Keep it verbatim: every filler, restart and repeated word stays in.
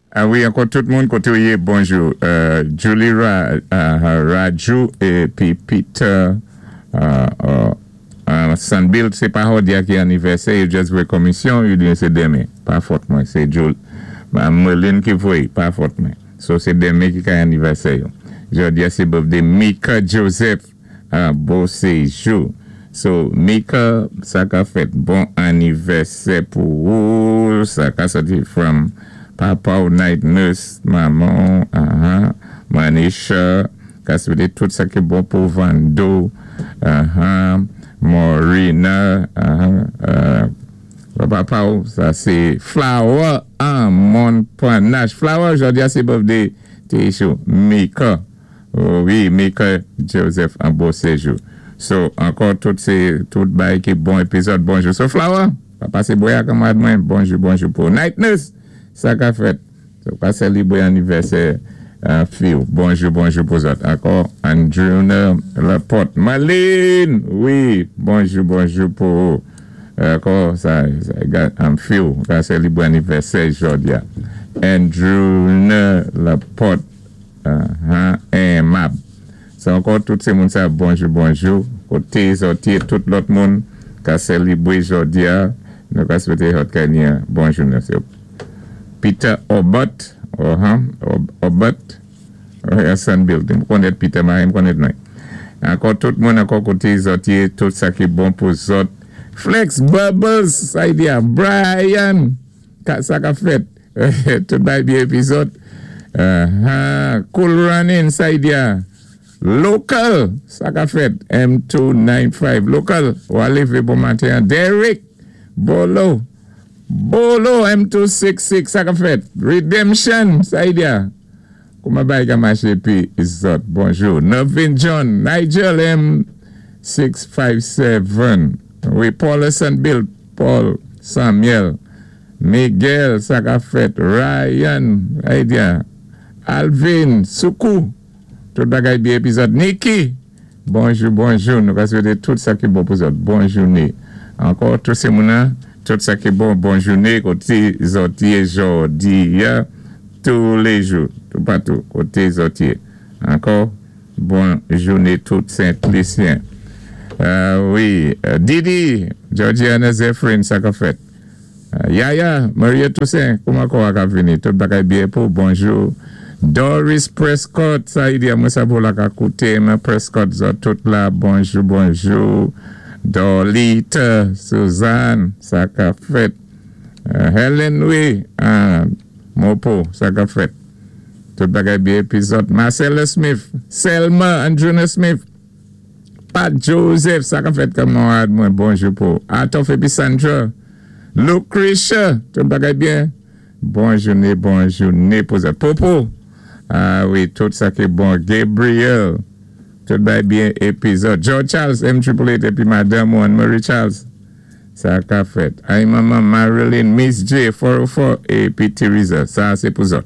Ah wi, ankò tout moun koté ou yé, bonjou. Euh, Julie Ra, uh, Raju épi Peter uh, uh, uh, Sanbill, sé pa jòdi-a ki anivèsè, yo just voyé komisyon, yo di sé denmen. Pa fòt mwen, sé Julie. Merlin ki voyé, pa fòt mwen. So sé denmen ki kay anivèsè yo. Jòdi-a sé birthday Mika Joseph uh, Beauséjour. So, Mika, sa ka fèt bon anivèsè pou ou, sa ka soti from papa ou night nurse, maman, uh-huh, Manisha, ka swété tout sa ki bon pou Vando, uh-huh, Morina, uh-huh, uh, papa ou, sa sé Flower an Montparnasse. Flower, jòdi-a sé birthday ti chou, Mika, oh, wi, Mika Joseph an Beauséjour. So, ankò tout sé, tout bay ki bon épizòd, bonjou. So, Flower, pa pasé bwè a kanmwad mwen, bonjou, bonjou pou Night Nurse, sa ka fèt. So, ka sélibwé anivèsè uh, fi ou. Bonjou, bonjou pou zòt. Ankò, Andrewna Laporte. Marlene, wi, bonjou, bonjou pou ankò, sa, sa, am fi ou, ka sélibwé anivèsè jòdi-a. Andrewna Laporte, uh, uh, Mab. So ankò tout sé moun sa bonjou bonjou koté zòt yé tout lòt moun ka sélibwé jòdi-a nou ka swété zòt ka ni bon jounen. So, Peter Obot, uh-huh, Obot, Sun Building. M konnèt Peter, m konnèt mwen. Ankò tout moun ankò koté zòt yé, tout sa ki bon pou zòt. Flex Bubbles, sa y di a, Brian, ka, sa ka fèt. Tout bay byen épizòd. Uh-huh. Cool Running, sa y di a. Local, sa ka fèt. M two nine five, local. Ou alévé bon maten. Derek, Bolo. Bolo, M two six six, sa ka fèt. Redemption, sa y di a. Kouman bay ka maché pi zòt. Bonjou. Novin John, Nigel M six five seven. Wi, Paul Bill, Paul Samuel. Miguel, sa ka fèt. Ryan, sa y di a. Alvin, Soukou. Tout bagay byen épizòd. Nikki, bonjou, bonjou. Nou ka swété tout sa ki bon pou zòt. Bon jounen. Ankò, tout sé moun tout sa ki bon, bon jounen, koté zòt yé jòdi, tous les jours, tout partout, koté zòt yé. Ankò, bon jounen tout Saint-Lucien. Euh, wi, Didi, Georgiana Zephyrin, sa ka fèt. Yaya, Maria Toussaint, kouman kwa ka vini? Tout bagay byen pou, bonjou. Doris Prescott, sa y di a mwen sa pou la ka koute, men Prescott, zòt tout la, bonjou, bonjou. Dolita, Suzanne, sa ka fèt. Helen, wi, Mopo, sa ka fèt. Tout bagay byen épizòd. Marcella Smith, Selma, Andruna Smith, Pat Joseph, sa ka fèt kanmwad mwen, bonjou pou. Atof epi Sandra, Lucretia, tout bagay byen. Bon jounen, bon jounen pou zòt. Popo, ah wi, tout sa ki bon. Gabriel, tout bagay byen épizòd. George Charles, M Triple Eight epi Madame One, Marie Charles, sa ka fèt. Ay maman Marilyn, Miss J, four oh four, epi Teresa, sa sé pou zòt.